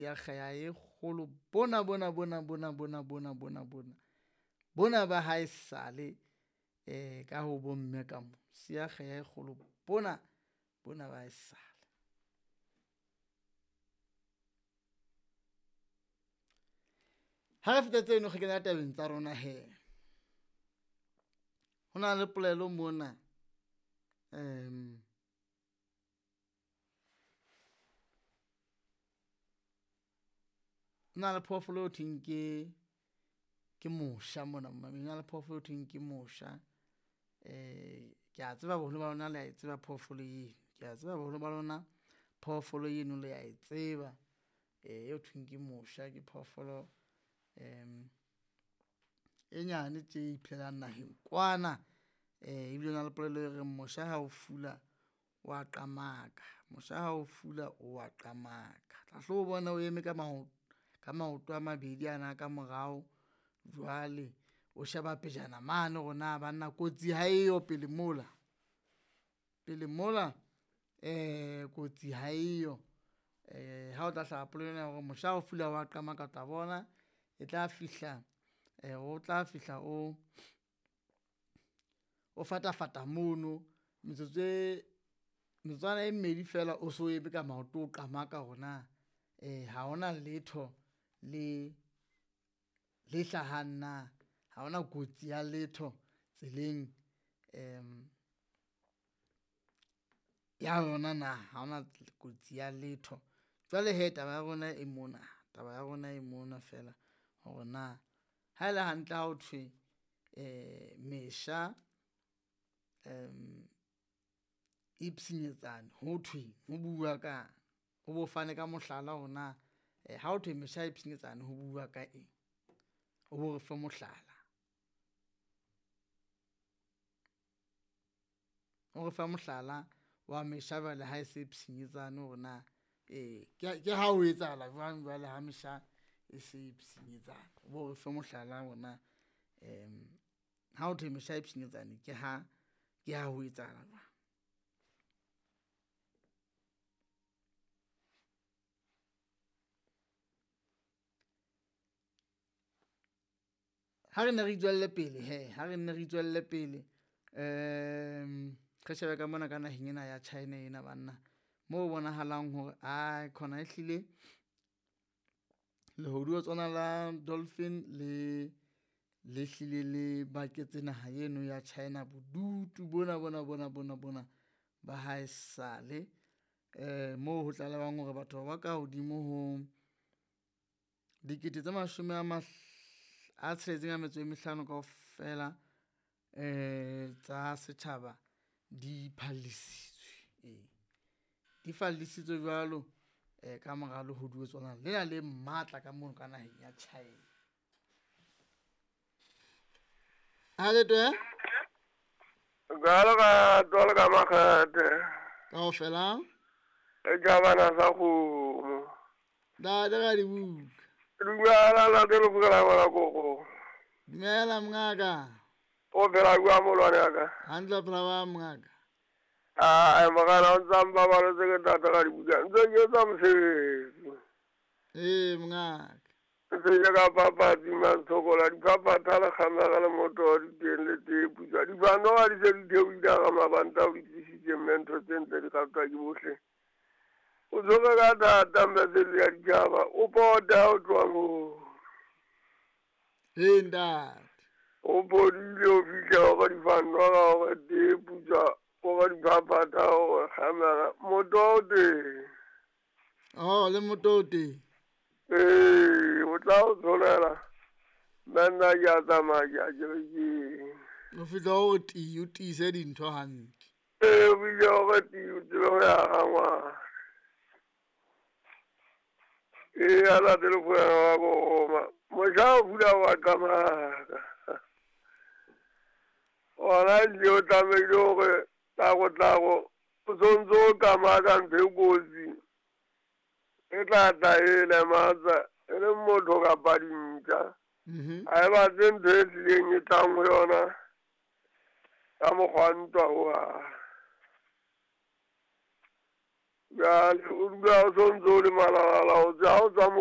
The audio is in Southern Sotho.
Ya kgeha e kgolo bona bona bona bona bona bona bona bona bona ba hae sale ka ho bomme ka mo siya kgeha e kgolo bona bona ba haesale. Ha re feta tseno re kena tabeng tsa rona hee. Ho na le polelo mona ho na le phoofolo eo thweng ke mosha mona ho na le phoofolo eo thweng ke mosha. Ke a tseba boholo ba lona le a e tseba phoofolo eno, ke a tseba boholo ba lona phoofolo eno le a e tseba eo thweng ke mosha. Ke phoofolo e nyane tje e iphelelang naheng kwana, ebile ho na le polelo e reng mosha ha o fula wa qamaka, mosha ha o fula o wa qamaka. Tla hlo o bona o eme ka ka maoto a mabedi ana a ka morao, jwale o sheba pejana mane hore na banna kotsi ha eyo pele mola, pele mola kotsi ha eyo. Ha o tla hlaha polelo ena ya hore mosha ha o fula wa qamaka, o tla bona e tla fihla o tla fihla o, o fatafata mono metsotso e, metsotswana e mmedi fela o so eme ka maoto o qamaka hore na ha hona letho le le hlahang na, ha hona kotsi ya letho tseleng ya yona na, ha hona kotsi ya letho. Jwale hee taba ya rona e mona, taba ya rona e mona feela hore na ha ele hantle ha ho thwe mesha e pshinyetsane ho thweng, ho bua kang? O bo fane ka mohlala hore na ha ho thwe mesha e pshinyetsane ho bua ka eng, o bo re fe mohlala. O re fe mohlala wa mesha jwale ha e se pshinyetsane hore na ke ha ho etsahala jwang jwale ha mesha e se e pshinyetsane. O bo re fe mohlala hore na ha ho thwe mesha e pshinyetsane ke ha ke ha ho etsahala jwang. Ha re nne re itswelle pele hee, ha re nne re itswelle pele re shebe ka mona ka naheng ena ya China ena banna. Mo bonahalang hore ae khona ehlile lehodiotswana la Dolphin le le hlile le baketse naha eno ya China bodutu bona bona bona bona bona ba haesale. Moo ho tlalehwang hore batho ba ka hodimo ho dikete tse mashome a a tsheletseng a metso e mehlano kaofela tsa setjhaba di phallisitswe, ee di fallisitswe jwalo ka mora lehodiotswana lena le matla ka mono ka naheng ya China. Ha le twe? Jwalo ka jwalo ka makgethe. Kaofela? E jabana sa kgomo. Ntate Radibuka. Dumela ntate Lefokela ngwana koko. Dumela mongaka. O phela jwang molwane wa ka? Hantle o phela ba mongaka. Ai mogala o ntsa mpabaletse ke tata Radibuka. Ntse ke etsa mosebetsi. Ee mongaka. Ntse ke ka papatsi mantshokola diphaphatha le kgamega le moto di teng le tee putswa. Difanoga di se di theohile ga mabanta o di tlisitse mme ntho tse ntle di ratwa ke bohle. O tshwere ka thata mme sele ya ditjhaba o pota o tloha moo. Ee ntate. O phodile o fihla hore difanoga hore tee putswa hore diphaphatha hore kgamega moto o teng. Oh le moto o teng. Ee, o tla o tsholela mme nna ke a tsamaya ke ya kerekeng. O fihla o ti o tiise dintho hantle. Ee, o fihle hore ti o tsebe ho ya ga ngwana. Ee, a ntate Lefokela wa koma. Mosha o fula wa qamaka. Ona ehlile o tlamehile hore tlago-tlago o sontso o qamaka ntho e kotsi. E tla tla e lematsa e le motho kapa dintja. Ha e batle ntho e hlileng e tlang ho yona ka mokgwa ntwa hohang. Jale o dula o sontse o le malalala o tswa o tswa.